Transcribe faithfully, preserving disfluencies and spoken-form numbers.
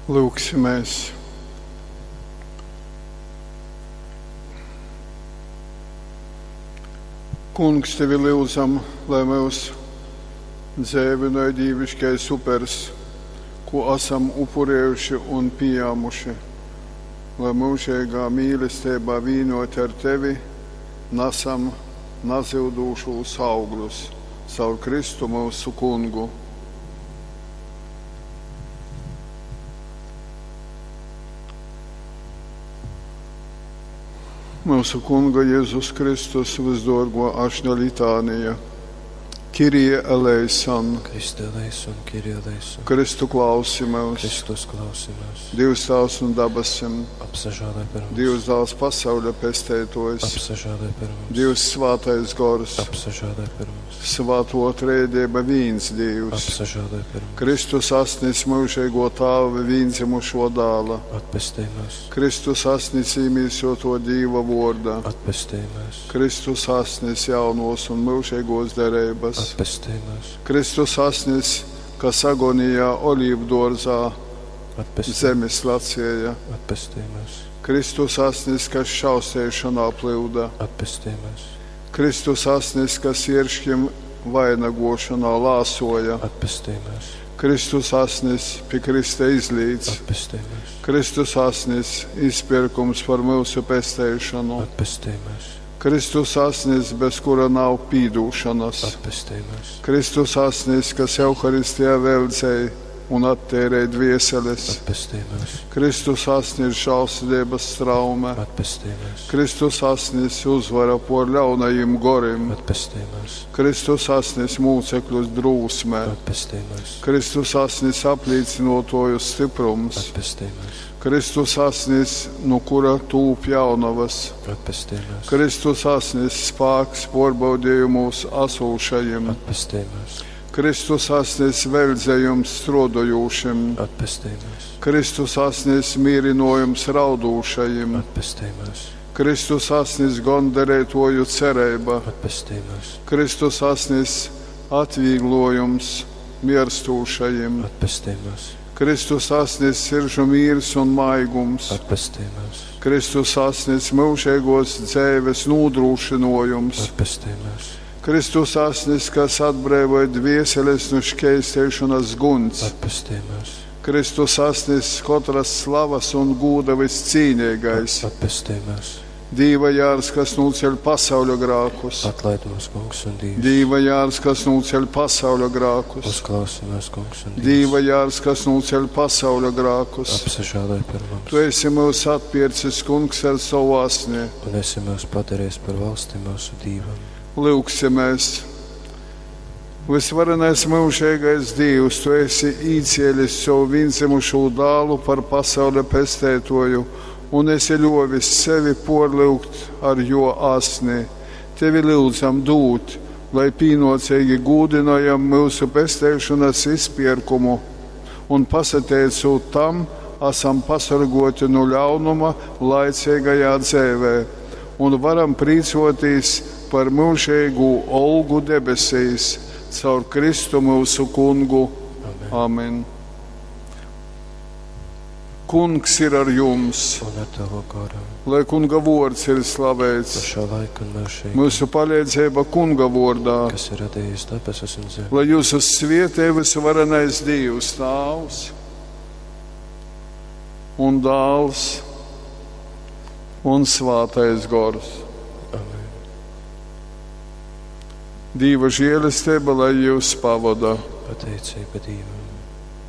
Lūgsimies! Kungs, tevi lyudzam, lai mūs dzeivinoj dīviškais upers, ko esam upurējuši un pījāmuši, lai mūžīgā mīlestībā vīnoti ar tevi nesam nazyudūšus augļus caur Kristu mūsu kungu. Mūsu Kunga Jēzus Kristus visdorgo ašņa litānija. Kirie eleison, Christe eleison, Kyrie eleison. Kristu klausi mūs, Kristus klausi mūs. Dievs tās un dabasim, Apsažālē par mums. Dievs dāls pasauļa pestētojs, Apsažālē par mums. Dievs svātais gors, Apsažālē par mums. svāto trēdība vīns Dievs, Apsažālē par mums. Kristus asnis mūžīgo tāva vīndzimušo dāla, Atpestī mūs. Kristus asnis īmīsoto Dīva vorda, Atpestī mūs. Kristus asnis jaunos un mūžīgos derības. Atpestī mūs. Kristus asnis, kas agonijā olīvdārzā Atpestī, zemes lacēja. atpestī mūs. Kristus asnis, kas šausēšanā plūda. Atpestī mūs. Kristus asnis, kas ieršķim vainagošanā lāsoja. Atpestī mūs. Kristus asnis pie Krista izlīdz. Atpestī mūs. Kristus asnis izpirkums par mūsu pestēšanu. Atpestī mūs. Kristus asnis, bez kura nav pīdūšanas. Atpestī mūs. Kristus asnis, kas Euharistijā veldzēja un attērēja dvieseles. Atpestī mūs. Kristus asnis žēlsirdības straume. Atpestī mūs. Kristus asnis uzvara por ļaunajiem gorim. Atpestī mūs. Kristus asnis mūcekļus drūsmē. Atpestī mūs. Kristus asnis aplīcinotoju stiprums. Atpestī mūs. Kristus asnis, no kura tūp jaunavas. Atpestī mūs. Kristus asnis spāks porbaudījumos asūšajiem. Atpestī mūs. Kristus asnis veldzējums strodojošiem. Atpestī mūs. Kristus asnis mīrinojums raudūšajiem. Atpestī mūs. Kristus asnis gondarētoju cerība. Atpestī mūs. Kristus asnis atvieglojums mirstūšajiem. Atpestī mūs. Kristus asnis siržu mīrs un maigums. Atpestī mūs. Kristus asnis mūžīgos dzēves nodrošinojums. Atpestī mūs. Kristus asnis, kas atbrīvoja dvieseles no šķēstēšanas guns. Atpestī mūs. Kristus asnis katras slavas un gūda viscīnīgais. Atpestī mūs. Dīva jārs, kas nūceļ pasauļa grākus. Atlaid mūs, Kungs un Dievs. Dīva jārs, kas nūceļ pasauļa grākus. Uzklausi mūs, Kungs un Dievs. Dīva jārs, kas nūceļ pasauļa grākus. Apsažālē par mums. Tu esi mūs atpircis, Kungs, ar savu asni. Un esi mūs padarījis par valsti mūsu Dievam. Lūgsimies! Visvarenais mūžīgais Dievs, Tu esi īcielis savu vienzimušo dālu par pasaules pestētoju un esi ļovis sevi porlūgt ar jo asni. Tevi lūdzam dūt, lai pīnocīgi gūdinojam mūsu pestēšanas izpirkumu un pasateicot tam, esam pasargoti no ļaunuma laicīgajā dzēvē un varam prīcoties par mūžīgu olgu debesīs caur Kristu mūsu kungu. Amen. Amen. Kungs ir ar jums, Un ar tavu garu. lai kunga vārds ir No slavēts. šā laika un mūžīgi, Mūsu palīdzība kunga vārdā, kas ir radījis debesis un zemi. lai jūs svietē visvarenais Dievs, Tēvs un Dāls un Svātais Gors. Amen. Dieva žēlastība, lai jūs pavada. Pateicība Dievam.